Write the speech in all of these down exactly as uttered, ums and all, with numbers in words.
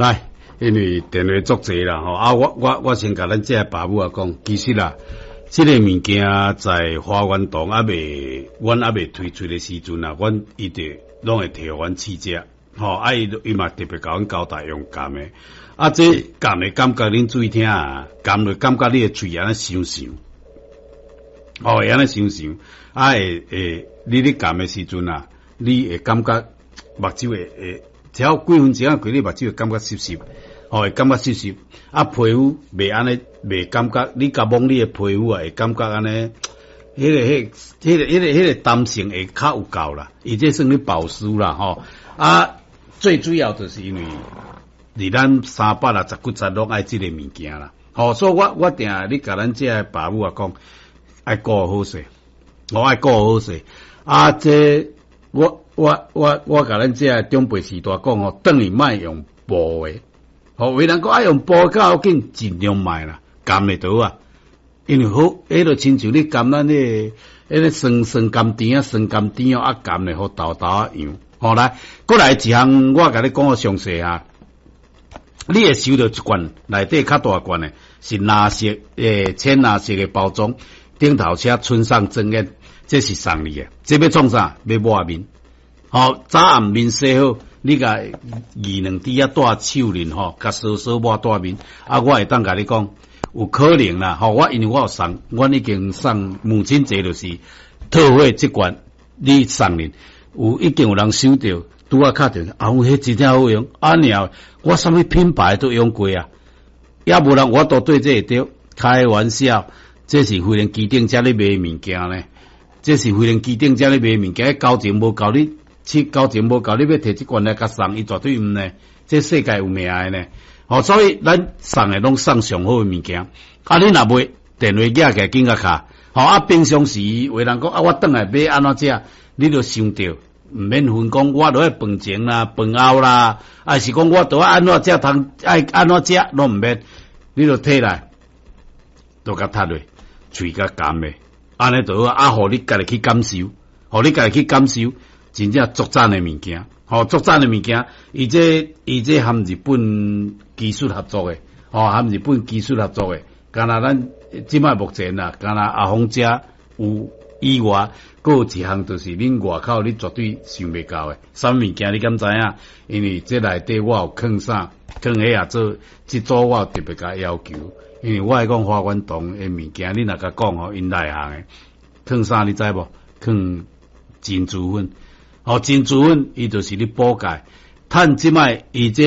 來，因為電話足濟啦吼，啊，我我我先共咱這个爸母仔講，其實啦，這个物件在華源堂猶未，阮猶未推出的時陣啊，阮伊就攏會提予阮試食，吼，啊，伊伊嘛特別共阮交代用含的，啊，這含的感覺恁注意聽啊，含落感覺你的喙按呢香香，哦，會按呢香香，啊，會會，你咧含的時陣啊，你會感覺目睭會會，只要幾分鐘過，你目睭會感覺濕濕，吼，會感覺濕濕，啊，皮膚袂按呢，袂感覺，你共摸你的皮膚啊，會感覺按呢，彼个、彼、彼个、彼个、彼个彈性會較有夠啦，伊這算咧保濕啦，吼，啊，最主要就是因為佇咱三百六十幾節攏愛這个物件啦，吼，所以我我定你共咱這个爸母仔講，愛顧好勢，我愛顧好勢，啊，這我我我我共咱這个長輩時代講吼，轉去莫用布的，吼，有人講愛用布較要緊，盡量莫啦，含的就好啊，因為好，彼就親像你含咱彼个彼个酸酸甘甜啊，酸甘甜哦，啊含的予豆豆仔樣，吼來，閣來一項，我共你講個詳細啊，你會收著一罐內底較大罐的，是藍色誒淺藍色的包裝，頂頭寫村上真言，這是送你的，這欲創啥？欲抹面。吼，早暗面洗好，你共二兩滴仔帶手面吼，共挲挲抹蹛面。啊，我會當共你講，有可能啦，吼，我因為我有送，阮已經送母親節就是特惠這罐，你送恁，有已經有人收著，拄仔敲電話，啊，有彼真正好用，啊爾，我啥物品牌都用過啊，也無人我都對這會著，開玩笑，這是飛輪機頂遮咧賣物件呢，這是飛輪機頂遮咧賣物件，交情無夠你。七交情無夠，你欲提這罐來共送，伊絕對毋呢。這世界有名的呢。吼，所以咱送的攏送上好的物件。啊，你若袂電話寄起來緊共敲。吼，啊，平常時有人講啊，我轉來欲按怎食，你就想著，毋免分講，我著愛飯前啦、飯後啦，還是講我著愛按怎食通愛按怎食，攏毋免，你就提來，就共踢落，喙共含的，按呢就好。啊，予你家己去感受，予你家己去感受。真正足讚的物件，吼，足讚的物件，伊這伊這含日本技術合作的，吼，含日本技術合作的，敢若咱這擺目前啦，敢若阿鳳遮有以外，閣有一項就是恁外口你絕對想袂到的，啥物物件你敢知影？因為這內底我有囥啥，囥彼也做，這組我有特別共要求，因為我愛講華源堂的物件，你若共講吼，𪜶內行的，囥啥你知無？囥珍珠粉。哦，珍珠粉伊就是咧補鈣，趁這擺伊這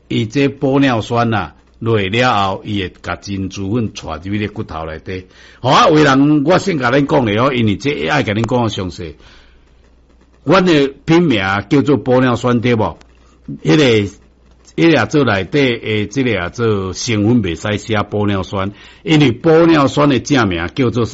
伊這玻尿酸啊落了後，伊會共珍珠粉帶入去骨頭內底。好啊，有人我先共恁講咧哦，因為這愛共恁講詳細。阮的品名叫做玻尿酸對無？彼个彼个做內底的這个做成分袂使寫玻尿酸，因為玻尿酸的正名叫做啥？